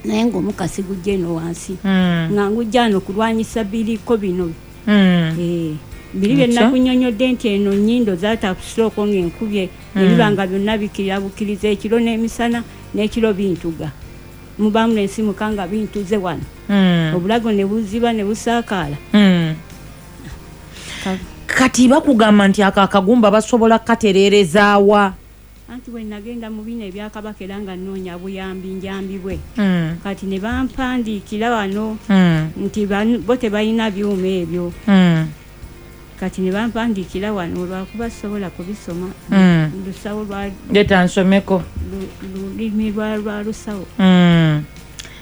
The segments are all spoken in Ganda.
Naye ng'omukka sigujja eno wansi, nga ngujja ano kulwanyisa biriko bino. Eh, biri bye nakunyonyodde nti eno nnyindo zaatakustroke ng'enkubye, ne biba nga byonna bikirira bukiriza ekiro n'emisana n'ekiro bintuga, mubaamu nensimuka nga bintuze wano, obulago ne buziba ne busaakaala. Kati bakugamba nti ako akagumba basobola katereerezaawa? Anti bwe nagenda mu bino ebyakabaka era nga nnoonya buyambi njambibwe, kati ne bampandiikira wano nti bo tebalina byuma ebyo. Kati ne bampandiikira wano, lwakuba sobola kubisoma. Lusawo lwa Leeta nsomeko. Lulimi lwa lusawo.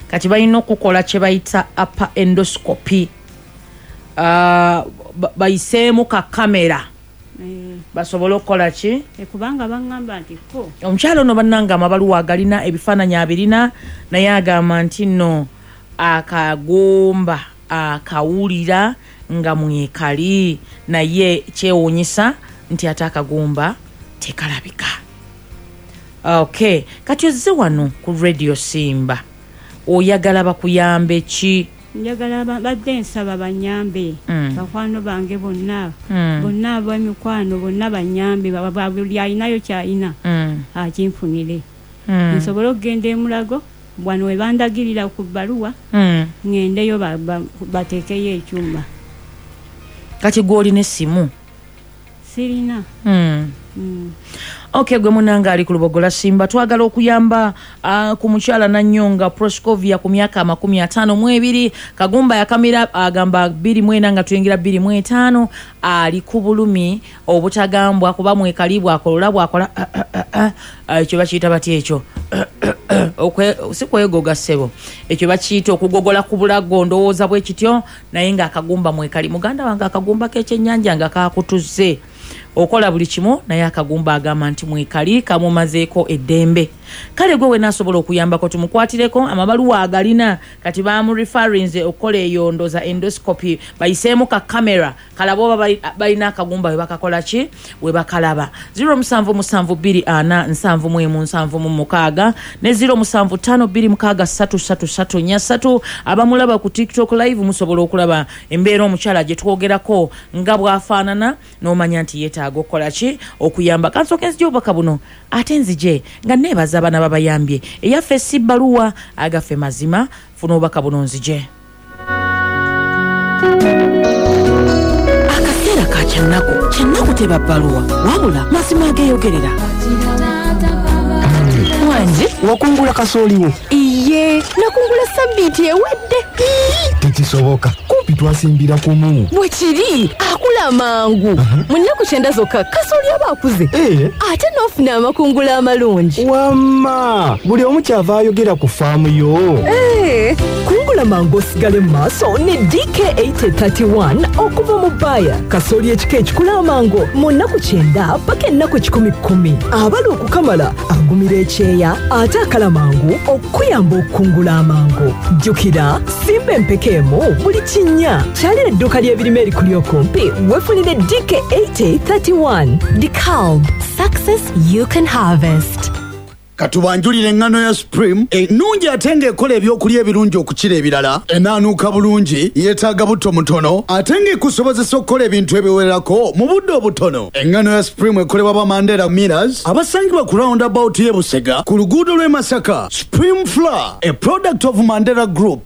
Kati balina okukola kye bayita upper endoscopy. Ah, bayiseemu ka kamera basobole okukola ki? Kubanga baŋŋamba nti ko Omukyalo ono bannanga amabaluwa agalina, ebifaananyi abirina, naye agamba nti nno akagumba akawulira nga mwekali, naye kyewuunyisa nti ate akagumba tekalabika. Ok, kati ozze wano ku Radio Simba, oyagala bakuyambe ki? Njagala badde nsaba banyambe, bakwano bange bonna, bonna ab'emikwano bonna banyambe, buli alinayo kyalina akinfunire, nsobole okugenda emulago wano we bandagirira ku bbaluwa, ŋŋendeyo bateekeyo ekyuma. Kati gwe olina essimu? Sirina. Ok, gwe munanga ali ku Lubogola Simba, twagala okuyamba ku mukyala Nanyonga Proscovia ku myaka 52. Kagumba yakamira agamba 24 nga tuyingira 25. Ali ku bulumi obutagambwa kuba mwekali, bwakolola bwakola ekyo bakiyita batya ekyo? Si kwegoga ssebo, ekyo bakiyita okugogola ku bulago, ndowooza bwe kityo, naye ng'akagumba mwekali. Muganda wange, akagumba k'ekyennyanja nga kakutuze, okola buli kimu, naye akagumba agamba nti mwekali, kamumazeeko eddembe. Kale gwe wena asobola okuyambako, tumukwatireko, amabaluwa agalina. Kati bamureferrinze okukola eyo ndoza endoscopy, bayiseemu ka kamera kalaba oba balina akagumba we bakakola ki, we bakalaba. 0772471776 ne 0752633343. Abamulaba ku TikTok Live musobola okulaba embeera omukyala gye twogerako nga bw'afaanana, n'omanya nti yeetaaga okukola ki, okuyamba. Kansooke nzije obubaka buno, ate nzije nga neebaza abaana babayambye. Eyaffe si bbaluwa, agaffe mazima. Funa obubaka buno nzije. Akaseera ka kyannaku, kyannaku teba bbaluwa, wabula mazima ageeyogerera. Wangi. Wakungula kasooliwo? Iye, nakungula sabbiiti ewedde. Tekisoboka, kumpi twasimbira kumu. Bwe kiri, akula mangu. Mu nnaku 90 zokka kasooli aba akuze, ate n'ofuna amakungula amalungi. Wamma buli omu kyava ayogera ku faamu yo. Eh, kungula mangu osigale mu maaso ne DK8031 okuva mu Bayer. Kasooli ekika ekikula amangu mu nnaku 90 paka ennaku 110. Abala okukamala, agumira ekyeya, ate akala mangu okukuyamba okukungula amangu. Jjukira, simba empeka emu buli kinnya. Kyalira edduuka ly'ebirime erikuli okumpi weefunire DK8031. DeKalb, success you can harvest. Katubanjulira eŋŋano ya Supreme ennungi ate ng'ekola ebyokulya ebirungi okukira ebirala. Enaanuuka bulungi, yeetaaga butto mutono, ate ng'ekusobozesa okukola ebintu ebiwerako mu budde obutono. Eŋŋano ya Supreme ekolebwa ba Mandela Millers abasangibwa ku roundabout y'e Busega ku luguudo lw'e Masaka. Supreme Flour, a product of Mandela Group.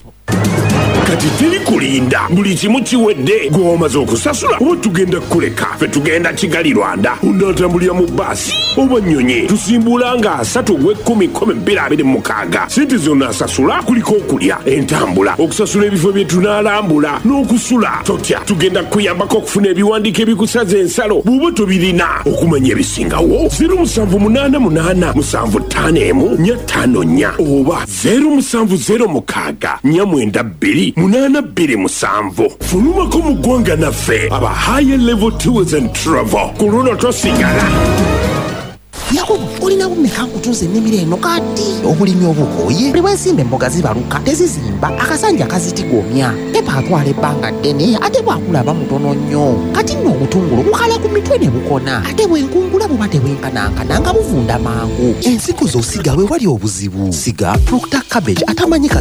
Kati teri kulinda, buli kimu kiwedde. Gwe wamaze okusasula oba tugenda kukuleka? Ffe tugenda Kigali, Rwanda. Onaatambulira mu baasi oba nnyonyi? Tusimbula nga 3 ogw'ekumi 2026. Sente zonna asasula kuliko okulya, entambula, okusasula ebifo bye tunaalambula n'okusula. Totya, tugenda kukuyambako okufuna ebiwandiiko ebikusaza ensalo bw'oba tobirina. Okumanya ebisingawo, 0788 751 454 oba 0706 492 827. Fulumako mu ggwanga naffe aba Higher Level Tours and Travel. Ku luno tosigala. Yakobo, olina bumeka nkutunza ennimiro eno? Kati obulimi obukooye. Buli bwensimba emboga zibaluka, tezizimba, akasanja kazitigomya, pepper atwala ebbanga ddene, ate bwakulaba mutono nnyo. Kati nno obutungulu bukala ku mitwe ne bukona, ate bwenkungula buba tebwenkanankana, nga buvunda mangu. Ensigo z'osiga we wali obuzibu. Siga Proctor cabbage atamanyika.